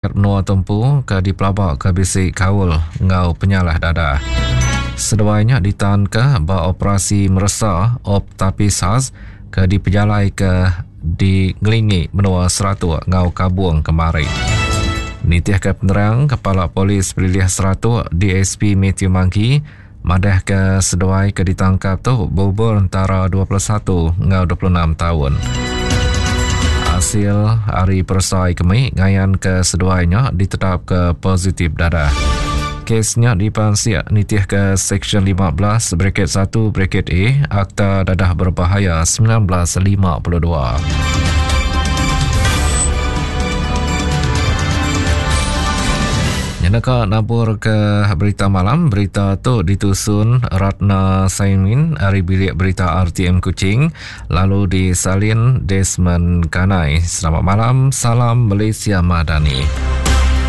Menua tu empu ke dipelabaka bisi kaul enggau penyalah dadah. Seduai nya ditanka ba operasi meresa Op Tapis Khas ke dipejalaika di ngelingi menua Seratok enggau Kabong kemari. Nitihka penerang Kepala Polis Pelilih Seratok DSP Mathew Mangki madahka seduai ke ditangkap tu beumur entara 21 enggau 26 taun. Asil ari peresa kemi ngayanka seduai nya ditetapka positif dadah. Kes nya dipansik nitihka Seksyen 15 bracket 1 bracket A Akta Dadah Berbahaya 1952. Nyenaka nabur ke berita malam, berita tu ditusun Ratna Saimin ari bilik berita RTM Kuching lalu disalin Desmond Kanai. Selamat malam, salam Malaysia Madani.